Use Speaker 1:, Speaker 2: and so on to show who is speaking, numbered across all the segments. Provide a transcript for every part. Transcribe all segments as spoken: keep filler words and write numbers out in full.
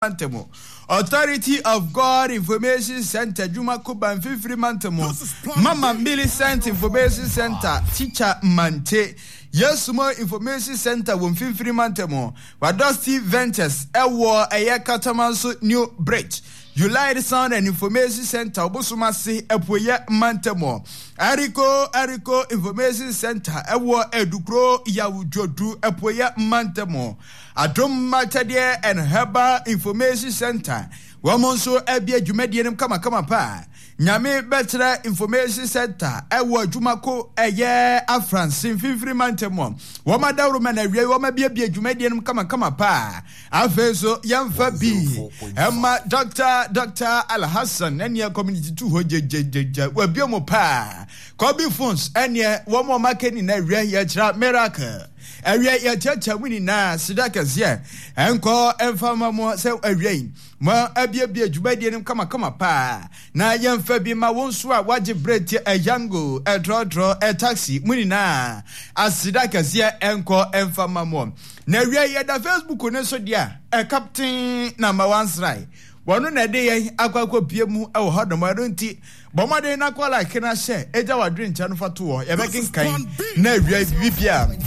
Speaker 1: Mantam, Authority of God Information Center Dwumako Banfifiri Mantam, Mama Millicent Information Center Teacher Mante, Yesumo Information Center wɔ Mfimfini Mantam, Wadosti Ventures ɛwɔ ɛyɛ Katamanso New Bridge, Ulite Sound and Information Center Obosomase Apueɛ Mantam, Eriko Eriko Information Center ɛwɔ Adukuro Yawudwodu Apueɛ Mantam, Adom Akyɛdeɛ and Herbal Information Center wɔn nso abie dwumadie no kamakama paa. Nyame Bɛkyerɛ Information Center ɛwɔ adwumako ɛyɛ Afranse Mfimfini Mantam, wɔn adaworo na awie wɔn abiebie dwumadie no kamakama paa. Afei nso yɛmfa bi ɛma Doctor Doctor Alhassan ɛneɛ community two hɔ gyegyegyegya wabie mu paa. Kobe Phones ɛneɛ wɔn a wɔn aka nyinaa awie yɛkyerɛ miracle awie yɛkyerɛkyerɛ mu nyinaa sida kɛseɛ ɛnkɔ ɛmfa ma mo sɛ awie yi mo abiebie dwumadie no kamakama paa. Na yɛmfa bi ma wo nso a wagye berɛ tie ɛyango ɛtrɔtrɔ ɛtaxi mu nyinaa aseda kɛseɛ ɛnkɔ ɛmfa ma mo. Na awie yɛda Facebook ne so deɛ a ɛcaptain number one srae wɔno na ɛde yɛn akɔ akɔpie mu ɛwɔ hɔ nom. Ɛno nti bɔ mmɔden na kɔ like na hyɛ ɛgya wadwene nkyɛn no fa to hɔ, yɛbɛkenkan na awie bibibia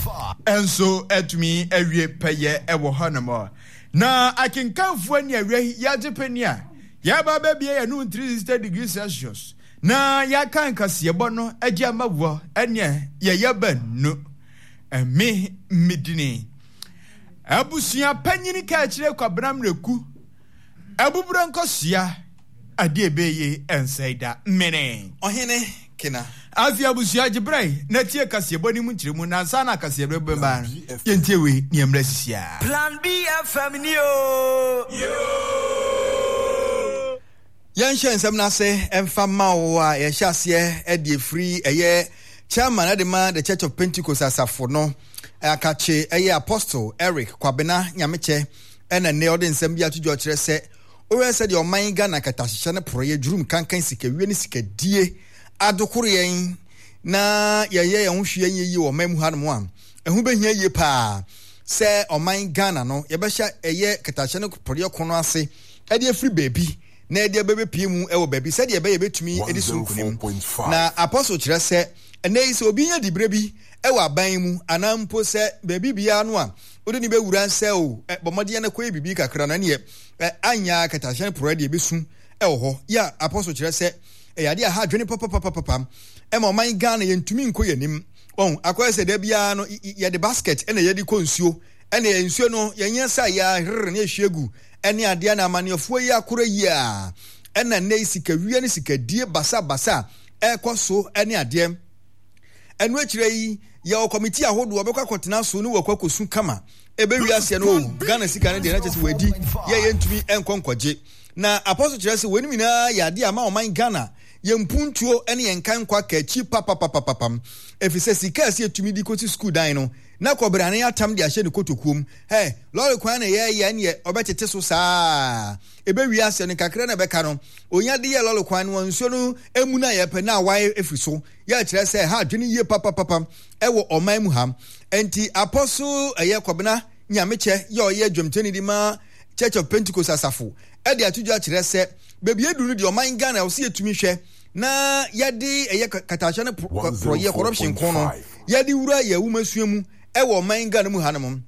Speaker 1: ɛnso atumi awie pɛyɛ ɛwɔ hɔ nom. Na akenkanfoɔ ni awie yɛagye pɛni a yɛba bɛbie yɛn no three sixty degrees Celsius na yɛaka nkaseɛbɔ no agye ama wɔ ɛneɛ yɛyɛ bɛnu ɛme medini abusua panyini ka akyerɛ Kwabena Mmerɛku abuburo nkɔsua adeɛ ɛbɛyɛ ɛnsɛe da mene
Speaker 2: Ɔhene Kena.
Speaker 1: Afei abusua gye berɛ na tie kaseɛbɔ no mu nkyerɛmu na ansa na kaseɛbɔ bɛba no yɛntie wei ne yɛmmerɛ sisia.
Speaker 3: Plan B F M ni o.
Speaker 2: Yɛnhyɛ nsɛm no ase ɛmfa ma wo a yɛhyɛ aseɛ ɛde efiri ɛyɛ chairman ɛde ma the Church of Pentecost asafo no akakye ɛyɛ Apostle Eric Kwabena Nyamekyɛ ɛna nnɛ ɔde nsɛm bi ato dwa ɔkyerɛ sɛ ɔyɛ sɛ deɛ ɔman Ghana katahyehyɛ ne porɔyɛ dwurum kankan sikawie ne sikadie adokoro yɛn na yɛyɛ yɛn ho hwee nyɛ yie wɔ ɔman mu hanom a ɛho bɛhia yie paa sɛ ɔman Ghana no yɛbɛhyɛ ɛyɛ katahyehyɛ ne porɔyɛ ko no ase ɛde afiri baabi na ɛde abɛbɛpie mu ɛwɔ baabi sɛdeɛ ɛbɛyɛ bɛtumi ɛde so nkonim. Na Apostle kyerɛ sɛ ɛnɛ yi sɛ obi nya diberɛ bi ɛwɔ aban mu anaa mpo sɛ baabi biara no a wode ne bɛwura nsɛ o bɔ mmɔden no kɔyɛ biribi kakra na neɛ anya katahyehyɛ ne porɔyɛ deɛ ɛbɛsu ɛwɔ hɔ. Yɛ Apostle kyerɛ sɛ ɛyɛ adeɛ a ha adwene papapapapa ɛma ɔman Ghana yɛntumi nkɔ yɛn anim. Wɔn akɔyɛ sɛ da biara no yɛde basket ɛna yɛde kɔ nsuo ɛna yɛ nsuo no yɛnyɛ sɛ yɛaherere ne yɛhwie gu ɛne adeɛ na amanneɛfoɔ yi akora yi a ɛna nnɛ yi sikawie ne sikadie basabasa ɛrekɔ so ɛne adeɛ. Ɛno akyire yi yɛwɔ kɔmiti ahodoɔ bɛkɔ akɔtena so ne wɔkɔ akɔsu kama ɛbɛwi aseɛ no o Ghana sika no deɛ na kyerɛ sɛ wɔadi yɛ yɛntumi nkɔ nkɔgye. Na Apostle kyerɛ sɛ wɔn nyinaa yɛ adeɛ ama ɔman Ghana yɛn mpuntuo ne yɛn nkan nkɔ aka akyi papapapapam ɛfiri sɛ sika a ɛsɛ yɛtumi de kɔsi sukuu dan no na kɔbrane atam de ahyɛ ne kotokuom ɛ lɔre kwan na yɛyɛ neɛ ɔbɛtete so saa ɛbɛwi aseɛ no kakra na ɛbɛka no onya de yɛ lɔre kwan no nsuo no emu na yɛpɛ na awae ɛfiri so yɛ kyerɛ sɛ ha adwene yie papapapa ɛwɔ ɔman mu ha. Enti Apostle ɛyɛ Kwabena Nyamekyɛ yɛ ɔyɛ dwamtoni de ma Church of Pentecost asafo ɛde ato dwa kyerɛ sɛ baabi edu no deɛ ɔman Ghana ɔsi yɛtumi hwɛ na yɛde ɛyɛ katahyehyɛ ne porɔyɛ corruption ko no yɛde wura yɛ awumasua mu ɛwɔ ɔman Ghana mu hanom.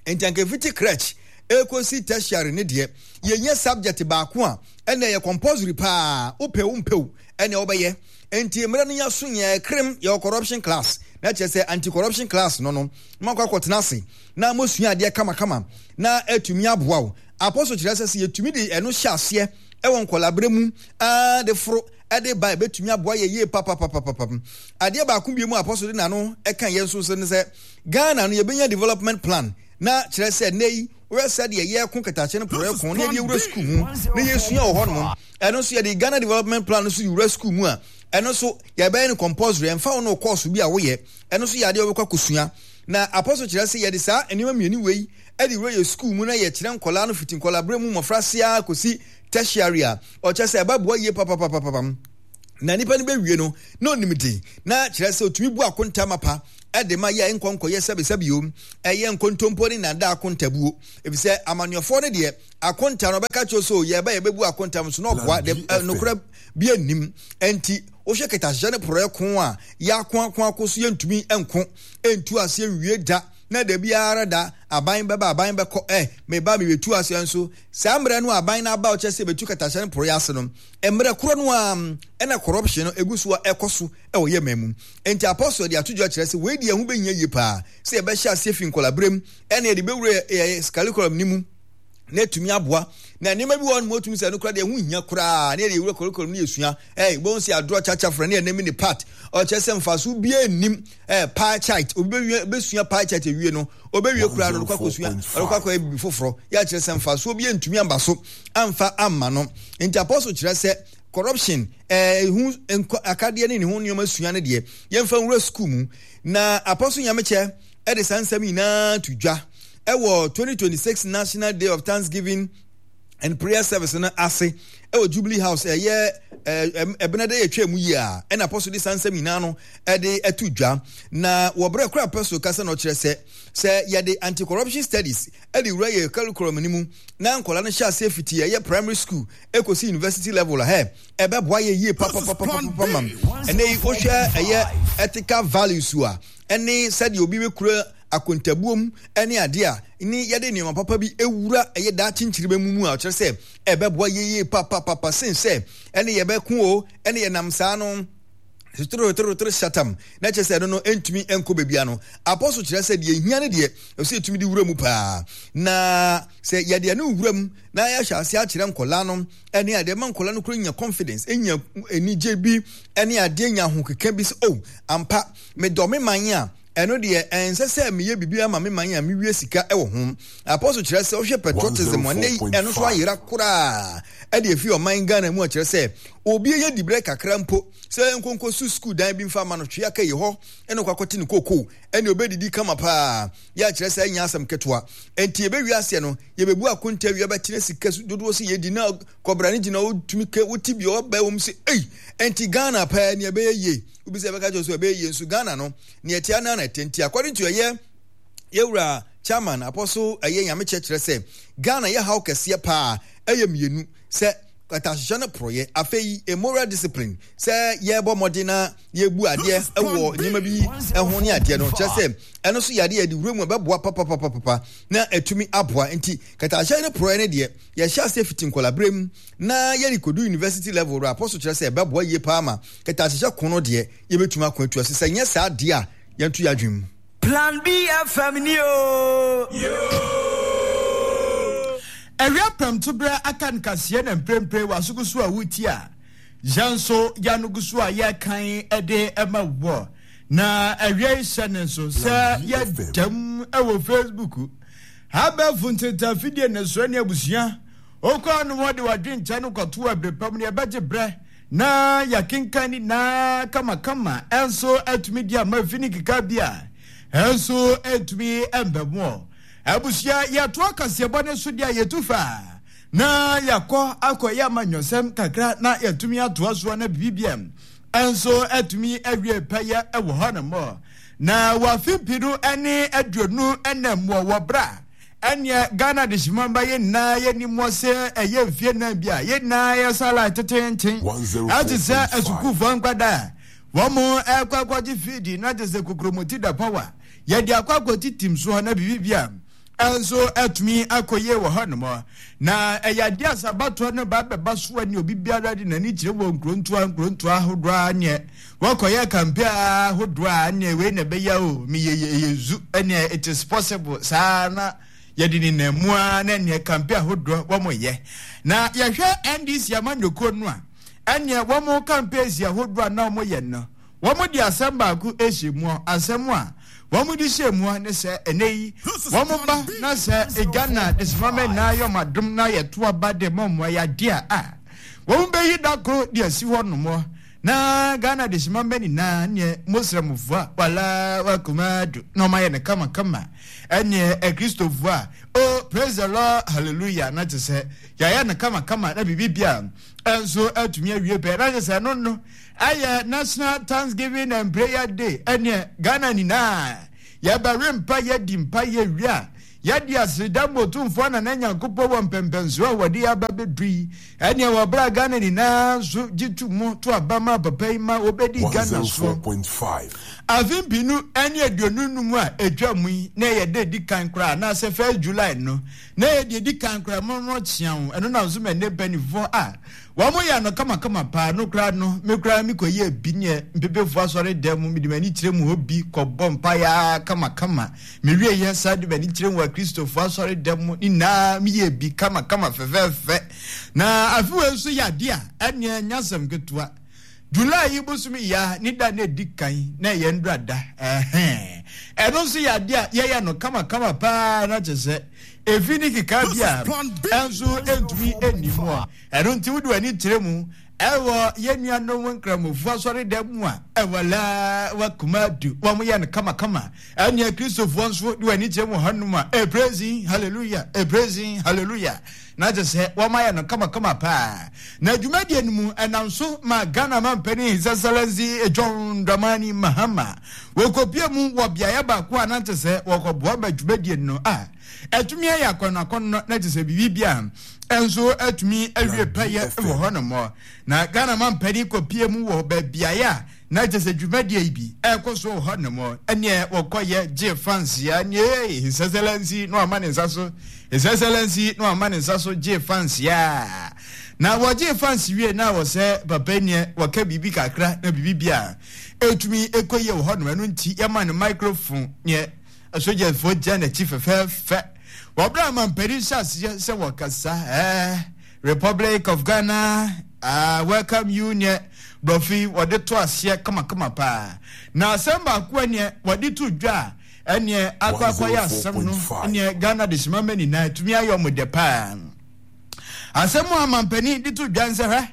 Speaker 2: Enti anka efiti crèche ekosi tertiary ne deɛ yɛnyɛ subject baako a ɛna ɛyɛ compulsory paa wopɛ wo mpɛ ɛna wɔbɛyɛ. Enti mmerɛ no yɛaso yɛn krem yɛwɔ corruption class na kyerɛ sɛ anti corruption class no no mo akɔ akɔtena ase na mosua adeɛ kamakama na atumi aboa wo. Apostle kyerɛ sɛ sɛ yɛtumi de ɛno hyɛ aseɛ ɛwɔ nkɔlaberɛ mu aa de foro ɛde ba ɛbɛtumi aboa yɛ yie papapapapam. Adeɛ baako bi mu Apostle de n'ano ɛka yɛn nso ne sɛ Ghana no yɛbɛnya development plan na kyerɛ sɛ nnɛ yi wɔyɛ sɛ deɛ yɛko katakyɛ no porɔyɛ ko na yɛde wura sukuu mu na yɛsua wɔ hɔnom. Ɛno nso yɛde Ghana development plan no so de wura sukuu mu a ɛno nso yɛbɛyɛ no compulsory ɛmfa wo no course bi a woyɛ ɛno nso yɛ adeɛ wɔbɛkɔ akɔsua. Na Apostle kyerɛ sɛ yɛde saa nneɛma mmienu wei ɛde wura yɛ sukuu mu na yɛkyerɛ nkɔlaa no fiti nkɔlaa berɛ mu mmɔfra ase ara kɔsi tertiary a ɔkyerɛ sɛ ɛbɛboa yie papapapapam. Na nipa no bɛwie no na onim de na kyerɛ sɛ otumi bu akonta mapa ɛde ma yɛ nkɔnkɔyɛ sɛbesɛbe o, ɛyɛ nkontompo ne nada akontabuo, efisɛ amanneɛfoɔ no deɛ akonta no ɔbɛka kyerɛ so yɛbɛ yɛbɛbu akonta so na ɔboa de nokorɛ bi anim. Enti wohwɛ kɛtɛasehyɛ ne porɔɛ ko a yɛako ako ako so yɛntumi nko ntu aseɛ nwie da, na da biara da aban bɛba aban bɛkɔ, ɛ meba mebɛtu aseɛ nso saa mmerɛ no aban no aba ɔkyerɛ sɛ bɛtu kɛtɛasehyɛ ne porɔɛ ase no, mmerɛ korɔ no a ɛna corruption no egu so a ɛkɔ so ɛwɔ yɛ man mu. Enti apostle de ato dwa kyerɛ sɛ wei deɛ ɛho bɛhia yie paa sɛ yɛbɛhyɛ aseɛ fi nkɔlaberɛ ɛna yɛde bɛwura yɛ curriculum no mu na etumi aboa. Na nneɛma bi wɔ hɔ nom otumi sɛ no koraa deɛ ɛho hia koraa na yɛde ewura curriculum no yɛsua. Ɛɛ bɔn sɛ adorɔ kyakya frɛ ne yɛ name ne part ɔkyerɛ sɛ mfaso biara nnim. Ɛɛ pie chart obi bɛwie bɛsua pie chart ewie no ɔbɛwie koraa no ɔkɔ akɔsua ɔkɔ akɔyɛ bibi foforɔ yɛ akyerɛ sɛ mfasoɔ bi ntumi amba so amfa amma no. Nti apostle kyerɛ sɛ corruption ɛɛ ho nkɔ akadeɛ ne ne ho nneɛma sua no deɛ yɛmfa nwura school mu. Na apostle Nyamekyɛ ɛde saa nsɛm nyinaa to dwa ɛwɔ twenty twenty-six National Day of Thanksgiving and Prayer Service no ase ɛwɔ Jubilee House ɛyɛ ɛɛ ɛbɛnɛ dɛ yɛtwa mu yie a ɛna apostle de saa nsɛm nyinaa no ɛde ɛto dwa. Na wɔbrɛ kora apostle kasa na ɔkyerɛ sɛ sɛ yɛde anti-corruption studies ɛde wura yɛ curriculum no mu na nkɔla no hyɛ aseɛ fiti ɛyɛ primary school ekosi university level hɛ ɛbɛboa yɛ yie papapapapapa mam. Ɛnɛ yi wohwɛ ɛyɛ ethical values a ɛne sɛdeɛ obi bɛkura akontabuom ɛne adeɛ a ne yɛde nneɛma papa bi ewura ɛyɛ daakye nkyirima mu mu a ɔkyerɛ sɛ ɛbɛboa yɛ yie papapapa sen sɛ ɛne yɛbɛko o ɛne yɛnam saa no toro shatam na kyerɛ sɛ ɛno no ntumi nkɔ baabi ano. Apostle kyerɛ sɛ deɛ ehia ne deɛ ɛsɛ yɛtumi de wura mu paa, na sɛ yɛde ɛno wura mu na yɛahyɛ ase akyerɛ nkɔlaa no ɛne adeɛ ma nkɔlaa no kura nya confidence, enya anigye bi ɛne adeɛ nya ahokeka bi sɛ oh ampa medɔ me man a ɛno deɛ ɛnsɛ sɛ meyɛ biribi ama me man a mewie sika ɛwɔ ho. Apostle kyerɛ sɛ wohwɛ patriotism ɛnɛ ɛno so ayera koraa ɛde efi ɔman Ghana mu a kyerɛ sɛ obi yɛ dibrɛ kakra mpo sɛ nkonko su school dan bi mfa ma no twea ka yi hɔ ɛna ɔkɔ akɔte ne koko ɛne obɛdidi kama paa yɛ akyerɛ sɛ ɛnyɛ asɛm ketewa. Enti yɛbɛwie aseɛ no yɛbɛbu akonta wie bɛtena sika so dodoɔ sɛ yɛdi na kɔbra ne gyina wotumi ke wote bi ɔbɛ wɔm sɛ ei enti Ghana paa ne ɛbɛyɛ yie. Obi sɛ ɛbɛka kyerɛ sɛ ɛbɛyɛ yie nso Ghana no ne ɛte anan na ɛte. Nti according to ɛyɛ yɛwura chairman apostle ɛyɛ Nyamekyɛ kyerɛ sɛ Ghana yɛ haw kɛseɛ paa ɛyɛ mmienu sɛ kɛtɛasehyɛ no porɔyɛ, afei moral discipline sɛ yɛbɔ mmɔden na yɛbu adeɛ wɔ nneɛma bi ho ne adeɛ no kyerɛ sɛ ɛno nso yɛ adeɛ yɛde wura mu ɛbɛboa papapapapa na ɛtumi aboa. Nti kɛtɛasehyɛ no porɔyɛ no deɛ yɛhyɛ aseɛ fiti nkɔlaberɛ mu na yɛde kɔdu university level no apostle kyerɛ sɛ ɛbɛboa yie paa ma kɛtɛasehyɛ ko no deɛ yɛbɛtumi ako atu ase. Sɛ nyɛ saa deɛ a yɛnto yɛ adwene mu.
Speaker 3: Plan B F M ni o.
Speaker 1: Awia prɛmtoberɛ aka nkaseɛ na mprempre w'asogo so a wuti a yɛn nso yɛanogo so a yɛkan de ma wɔ. Na awia yi hyɛ ne nso sɛ yɛdam wɔ Facebook abɛɛfo ntetafidie ne so ne abusua okɔ no wɔde wadwenkyɛ no kɔto abere pam ne ɛbɛgye berɛ na yɛkenkan ne nyinaa kamakama ɛnso atumi di ama fi ne keka bi a ɛnso atumi mbɛmoɔ. Abusua yɛto akaseɛbɔ ne so deɛ yɛtu fa na yɛakɔ akɔyɛ amanyɔsɛm kakra na yɛtumi atoa soɔ na biribiam ɛnso atumi awie pɛyɛ ɛwɔ hɔ nom. Na wafe mpi no ne aduonu ɛnam wɔ wɔ bra ɛneɛ Ghana de hyemamba yɛ nyinaa yɛni mmɔ sɛ ɛyɛ mfie nan bi a yɛ nyinaa yɛ sala tetenten ɛte sɛ asukuufoɔ nkwadaa wɔn mo ɛkɔ akɔgye fiidi na te sɛ kokromoti da power yɛde akɔ akɔti tim soɔ na biribi a ɛnso atumi akɔyie wɔ hɔ nom. Na ɛyɛ adeɛ a sabatoɔ no ba bɛba soɔ ne obi biara de n'ani kyerɛ wɔ nkurontoa nkurontoa ahodoɔ a neɛ wɔkɔyɛ kampe ahodoɔ a neɛ wei na ɛbɛyɛ o meyɛ yɛ zu ɛneɛ it is possible saa na yɛde ne nam mu a na neɛ kampe ahodoɔ wɔn yɛ. Na yɛhwɛ N D C amanyɔkuo no a ɛneɛ wɔn kampe si ahodoɔ a na wɔn yɛ no wɔn de asɛm baako ahyɛ mu asɛm a wɔn de hyɛ mu ne sɛ ɛnɛ yi wɔn ba na sɛ Ghana de sima na yɛ ɔmadom na yɛto aba de mɔ mɔ yɛ adeɛ a wɔn bɛyi da koro de asi hɔ nom Na Ghana dehyema mma nyinaa neɛ Muslimfoɔ a wala wakuma do na ɔmayɛ no kamakama, ɛneɛ Akristofoɔ a oh praise the Lord hallelujah, na kyerɛ sɛ yɛayɛ no kamakama na biribi bia ɛnso atumi awie pɛ. Na kyerɛ sɛ ɛno no ɛyɛ National Thanksgiving and Prayer Day. Ɛneɛ Ghana nyinaa yɛbɛwe mpa, yɛdi mpa, yɛwie a yɛde aseda ma Otumfoɔ Nana Nyankopɔn wɔ mpɛmpɛnsoɔ a wɔde aba bɛdu yi. Ɛneɛ wɔbrɛ Ghana nyinaa nso gye to mu to aba ma papa yi ma wɔbɛdi Ghana soɔ afe mpinu ne aduonu num a ɛtwa mu yi, na ɛyɛ da di kan koraa anaasɛ first July no na ɛyɛ deɛ di kan koraa mɔmɔ kyea wo. Ɛno na nso ma ɛnɛ mpanimfoɔ a wɔn yɛ no kamakama paa no koraa no, me koraa me kɔyɛ bi neɛ mpepefoɔ asɔre dan mu, mede m'ani kyerɛ mu hɔ bi kɔbɔ mpaeɛ kamakama. Mewie yɛ saa de m'ani kyerɛ mu wɔ Akristofoɔ asɔre dan mu ne nyinaa, meyɛ bi kamakama fɛfɛɛfɛ. Na afe wei nso yɛ adeɛ a ɛneɛ nyɛ asɛm ketewa. July yi bosome ya ne da na ɛdi kan na ɛyɛ ndura da, ɛhɛn ɛno nso yɛ adeɛ a yɛyɛ no kamakama paa, na kyerɛ sɛ efi ne keka bi a ɛnso ɛntumi ɛnni mu a. Ɛno nti wode w'ani kyerɛ mu ɛwɔ yɛn nuanom nkramofoɔ asɔredan mu a ɛwɔ laa wakuma du, wɔn yɛ no kamakama. Ɛnea Kristofoɔ nso de w'ani kyerɛ mu hɔnom a ɛpraising hallelujah, ɛpraising hallelujah, na kyerɛ sɛ wɔn ayɛ no kamakama paa. Na dwumadie no mu ɛnam so ma Ghana mampanin His Excellency John Dramani Mahama wɔkɔpie mu wɔ beaeɛ baako a na kyerɛ sɛ wɔkɔboa ma dwumadie no a ɛtumi ayɛ akɔnnɔakɔnnɔ, na kyerɛ sɛ biribi bia ɛnso atumi awie pɛyɛ wɔ hɔnom. Na Ghana mampanin kɔpie mu wɔ baabiaeɛ a na kyerɛ sɛ dwumadie yi bi ɛrekɔ so wɔ hɔnom. Ɛneɛ wɔkɔyɛ gye fansia neɛ His Excellency na wama ne nsa so, His Excellency na wama ne nsa so gye fansia. Na wɔgye fansi wie na wɔ sɛ papa neɛ wɔka biribi kakra na biribi bia ɛtumi ɛkɔ yie wɔ hɔnom. Ɛno nti yɛma no microphone, neɛ asogyafoɔ gyina n'akyi fɛfɛɛfɛ. Wɔbrɛ amampanin hyɛ aseɛ sɛ wɔkasa, ɛɛ Republic of Ghana uh, welcome you, neɛ borɔfo yi wɔde to aseɛ kamakama paa. Na asɛm baako a neɛ wɔde to dwa a ɛneɛ akɔ akɔyɛ asɛm no neɛ Ghana de hyema ma nyinaa tumi ayɛ ɔmo dɛ paa. Asɛm a amampanin de to dwa nsɛ hwɛ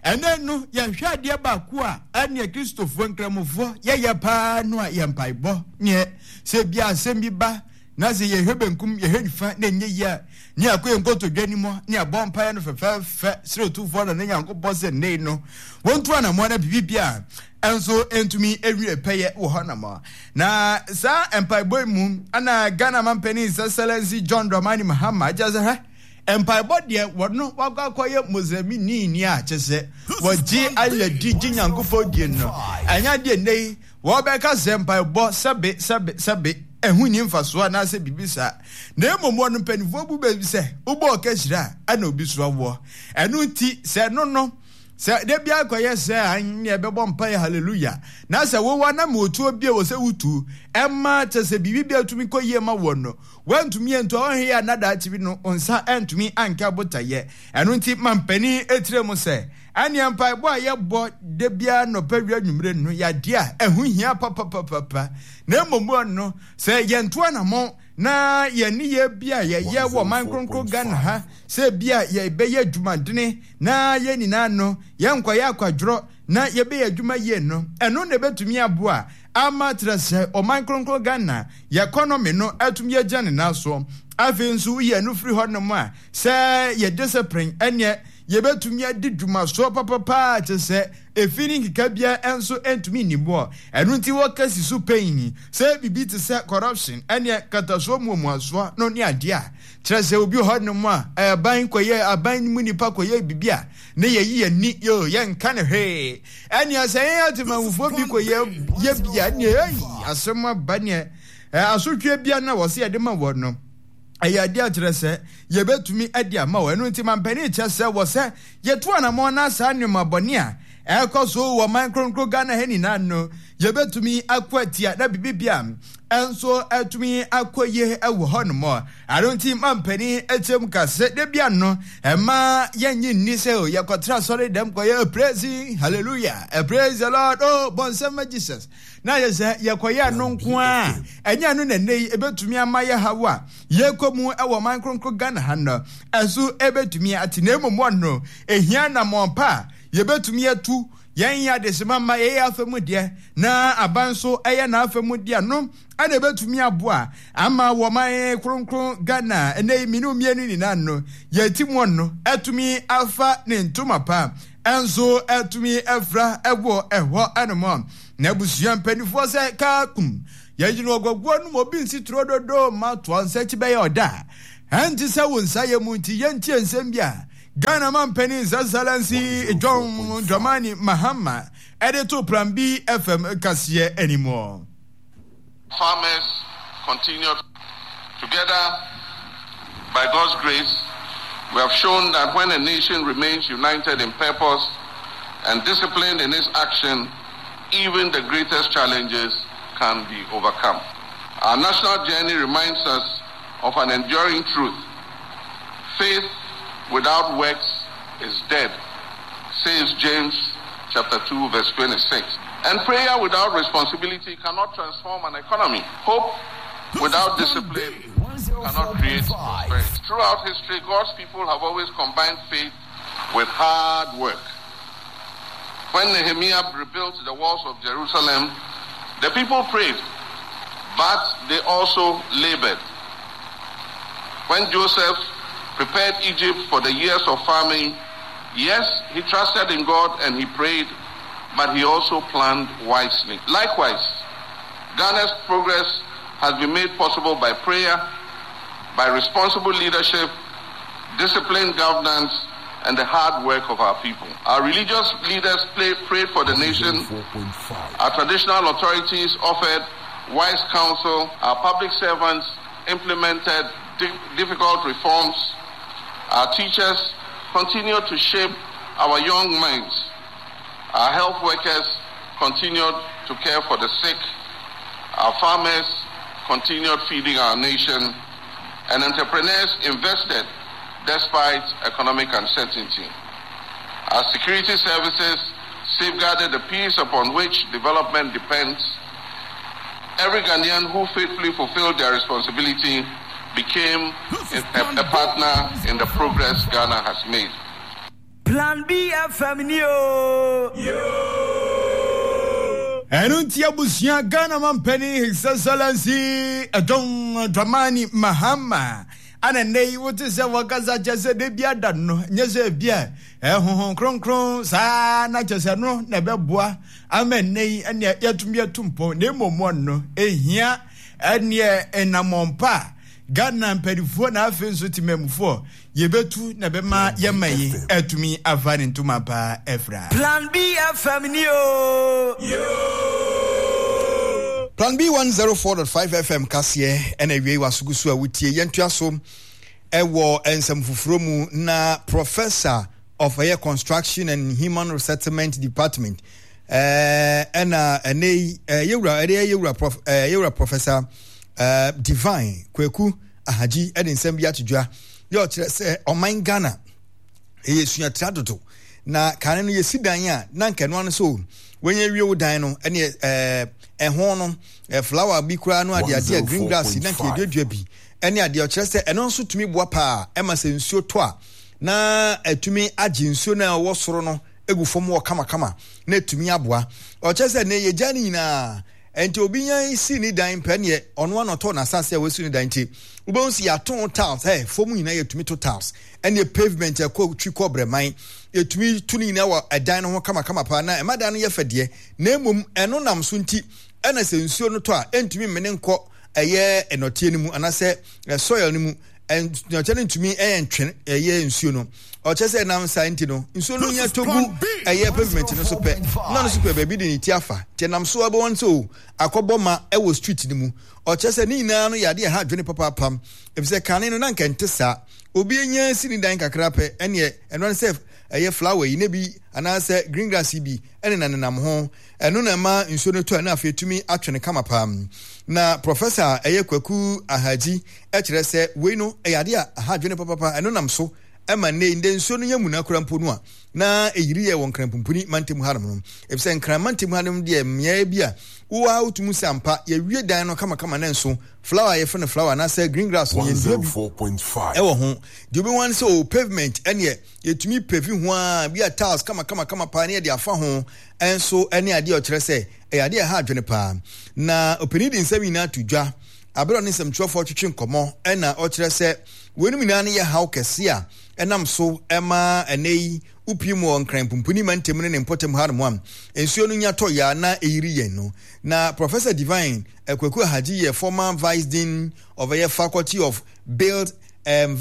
Speaker 1: ɛnɛ no, yɛhwɛ adeɛ baako a ɛneɛ Kristofoɔ nkramofoɔ yɛyɛ paa no a yɛ mpaebɔ. Neɛ sɛ bia asɛm bi ba na sɛ yɛhwɛ benkum yɛhwɛ nifa na ɛnyɛ yie a, ne akɔ yɛn nkotodwe anim ne abɔ mpaeɛ no fɛfɛɛfɛ srɛ Otumfoɔ na ne Nyankopɔn sɛ nnei no wɔntu anammɔn na biribi bia ɛnso ntumi ɛwie pɛyɛ wɔ hɔ nam. Na saa mpaebɔ yi mu ana Ghana mampanin His Excellency John Dramani Mahama agya sɛ hwɛ mpaebɔ deɛ wɔno wakɔ akɔyɛ Muslimini ni a kyɛ sɛ wɔgye ayɛ di gye Nyankopɔn die no, ɛnyɛ adeɛ nnɛ yi wɔbɛka sɛ mpaebɔ sɛbe sɛbe sɛbe ɛho nni mfasoɔ anaasɛ biribi saa. Na mmom wɔn mpanimfoɔ bu baabi sɛ wobɔ ɔka hyira a ɛna obi so awoɔ. Ɛno nti sɛ no no sɛ da bi akɔyɛ sɛ anyɛ ɛbɛbɔ mpaeɛ hallelujah na sɛ wowɔ na ma otuo bie wɔ sɛ wotu ɛma kyɛ sɛ biribi bi atumi kɔ yie ma wɔn no wɔntumi antu a ɔnhwɛ yɛ anadaakye bi no nsa ɛntumi anka botayɛ. Ɛno nti ma mpanin etire mu sɛ ɛneɛ mpaebɔ a yɛbɔ da biara nɔpɛ wia nwumire no yɛadeɛ a ɛho hia papapapapa. Na mmom no sɛ yɛnto anammɔn na yɛn nneyɛɛ bi a yɛyɛ wɔ man kronkron Ghana ha sɛ bi a yɛbɛyɛ adwumadene na yɛn nyinaa no yɛnkɔyɛ akwadworɔ na yɛbɛyɛ adwuma yie no, ɛno na ɛbɛtumi aboa ama kyerɛ sɛ ɔman kronkron Ghana yɛ economy no atumi agyina ne nan so. Afei nso woyi ɛno firi hɔnom a sɛ yɛ discipline ɛneɛ yɛbɛtumi adi dwumasoɔ papapaa kyerɛ sɛ efi ne nkeka biara nso ntumi nni boɔ. Ɛno nti wɔka si so pɛn sɛ biribi te sɛ corruption ɛneɛ katasoɔ muamuasoɔ no ne adeɛ a kyerɛ sɛ obi hɔnom a aban kɔyɛ aban mu nipa kɔyɛ biribi a ne yɛyi yɛn ni yo yɛnka ne hwee. Ɛneɛ sɛ yɛn atemammufoɔ bi kɔyɛ yɛ bia neɛ ɛyi asɛm aba neɛ asotwe bia na wɔ sɛ yɛde ma wɔ no ɛyɛ adeɛ akyerɛ sɛ yɛbɛtumi de ama wɔ. Ɛno nti mampanin kyɛ sɛ wɔ sɛ yɛto anammɔn na saa nneɛma bɔne a ɛkɔ so wɔ man kronkron Ghana ha nyinaa no yɛbɛtumi akɔ atia na biribi bia ɛnso atumi akɔ yie wɔ hɔnom. Ɛno nti mampanin akyerɛ ka sɛ da bia no ɛma yɛnye nni sɛ yɛkɔtra asɔre dɛm kɔyɛ praise hallelujah, praise the Lord, oh bɔnsɛm ma Jesus, na yɛ sɛ yɛkɔyɛ no nko a ɛnyɛ no na nnɛ yi ɛbɛtumi ama yɛ haw a yɛkɔ mu ɛwɔ man kronkron Ghana ha no ɛso ɛbɛtumi ate. Na mmom no ehia nammɔn pa a yɛbɛtumi atu Yɛn yɛ adesima ma yɛyɛ afa mu deɛ na aban nso ɛyɛ n'afa mu deɛ no ɛna ɛbɛtumi aboa ama wɔman kronkron Ghana ɛnɛ yi mmienu mmienu nyinaa no yɛti mu no ɛtumi afa ne ntoma pa ɛnso ɛtumi ɛfra ɛwɔ ɛhɔ ɛnom. Na abusua mpanimfoɔ sɛ kaakum yɛgyina ɔgɔgoɔ no mu obi nsi turo dodo ma toa nsa akyi bɛyɛ ɔda ɛnte sɛ wo nsa yɛ mu nti yɛntie nsɛm bi a Ghana mampanin His Excellency John Dramani Mahama ɛde to Plan B F M kaseɛ anim.
Speaker 4: Farmers continued together by God's grace. We have shown that when a nation remains united in purpose and disciplined in its action, even the greatest challenges can be overcome. Our national journey reminds us of an enduring truth. Faith without works is dead, says James chapter two, verse twenty-six. And prayer without responsibility cannot transform an economy. Hope without discipline cannot create prosperity. Throughout history, God's people have always combined faith with hard work. When Nehemiah rebuilt the walls of Jerusalem, the people prayed, but they also labored. When Joseph prepared Egypt for the years of famine, yes, he trusted in God and he prayed, but he also planned wisely. Likewise, Ghana's progress has been made possible by prayer, by responsible leadership, disciplined governance, and the hard work of our people. Our religious leaders play, prayed for the nation. Our traditional authorities offered wise counsel. Our public servants implemented di- difficult reforms. Our teachers continued to shape our young minds. Our health workers continued to care for the sick. Our farmers continued feeding our nation. And entrepreneurs invested despite economic uncertainty. Our security services safeguarded the peace upon which development depends. Every Ghanaian who faithfully fulfilled their responsibility became a, a, a partner in the progress Ghana has made.
Speaker 3: Plan B F M Neo.
Speaker 1: Ɛno nti abusua Ghana mampanin His Excellency John Dramani Mahama ana nnɛ yi wote sɛ wɔkasa kyɛ sɛ da bi ada no nyɛ sɛ bi a ɛhohom kronkron saa na kyɛ sɛ no na ɛbɛboa ama nnɛ yi ɛneɛ yɛatumi atu mpɔn na mmom no ɛhia ɛneɛ ɛnamɔmpa a Ghana mpanyinfoɔ na afei nso temamufoɔ yɛbɛtu na bɛma yɛma yi atumi afa ne ntoma paa ɛfra.
Speaker 3: Plan B F M ni o.
Speaker 2: Plan B one zero four point five F M kaseɛ ɛna awie wasogu so a wotie yɛntoa so ɛwɔ nsɛm foforɔ mu na Professor of Air Construction and Human Resettlement Department ɛna ɛnɛ yi yɛwura ɛde yɛwura prof yɛwura Professor Uh, Divine Kweku Ahaji ɛde nsɛm bi ato dwa yɛ ɔkyerɛ sɛ ɔman Ghana ɛyɛ suatra dodo na kane no yɛsi dan a na nka ɛno ano so wɔnyɛ wie wo dan no ɛne ɛɛ ɛho no flower bi koraa no ade ade a green grass na nka yɛduadua bi ɛne adeɛ ɔkyerɛ sɛ ɛno nso tumi boa paa ɛma sɛ nsuo tɔ a na ɛtumi agye nsuo no a ɛwɔ soro no egu fam wɔ kamakama na ɛtumi aboa. Ɔkyerɛ sɛ ne yɛgya no nyinaa enti obi nya si ni dan pɛ ne ɔno anɔtɔ na asase a wasi ni dan nti wobɛhu sɛ yɛato tiles eh fam nyinaa yɛtumi to tiles ɛne pavement ɛkɔ twi kɔ brɛman yɛtumi to ne nyinaa wɔ ɛdan no ho kamakama paa na ɛma dan no yɛ fɛ deɛ na mmom ɛno nam so nti ɛna sɛ nsuo no tɔ a ɛntumi mmene nkɔ ɛyɛ ɛnɔteɛ no mu anaasɛ soil no mu ɛnɔteɛ no ntumi ɛyɛ ntwe ɛyɛ nsuo no ɔkyɛ sɛ nam saa nti no nsuo no nya togu ɛyɛ pavement no so pɛ na no so pɛ baabi de ne ti afa nti nam so abɛwɔ nso akɔbɔ ma ɛwɔ street no mu ɔkyɛ sɛ ne nyinaa no yɛ adeɛ ɛha adwene papaapam efisɛ kane no na nka nte saa obi anya si ne dan kakra pɛ ɛneɛ ɛno ne sɛ ɛyɛ flower yi ne bi anaasɛ green grass yi bi ɛne na nenam ho ɛno na ɛma nsuo no tɔ ɛna afei tumi atwe ne kama paa. Na Professor ɛyɛ Kwaku Ahaji ɛkyerɛ sɛ wei no ɛyɛ adeɛ a aha adwene papapa ɛno nam so Ɛma nnɛ ndɛ nsuo no yɛ muna kora mpo no a na ɛyiri yɛ wɔ Nkran pumpuni mantam hanom no, efisɛ Nkran mantam hanom deɛ, mmeaeɛ bi a wowɔ a wotumi sɛ ampa yɛwie dan no kamakama ne nso flower a yɛfrɛ no flower anaasɛ green grass no, yɛndua bi ɛwɔ ho. Deɛ wobɛhu ne sɛ o pavement ɛneɛ yɛtumi pave ho a bi a tiles kamakamakama paa ne yɛde afa ho. Ɛnso ɛne adeɛ a ɔkyerɛ sɛ ɛyɛ adeɛ a ɛha adwene paa. Na ɔpanin de nsɛm nyinaa to dwa abere a ɔne nsɛmtwerɛfoɔ twetwe nkɔmmɔ, ɛna ɔkyerɛ sɛ weinom nyinaa no yɛ haw kɛse a ɛnam so ɛma ɛnɛ yi wopie mu wɔ Nkran pumpuni mantam ne ne mpɔtam hanom a nsuo no nya tɔ yɛ a na ɛyiri yɛn no. Na Professor Divine Kwaku Ahagye yɛ former vice dean of ɛyɛ Faculty of Built Environment.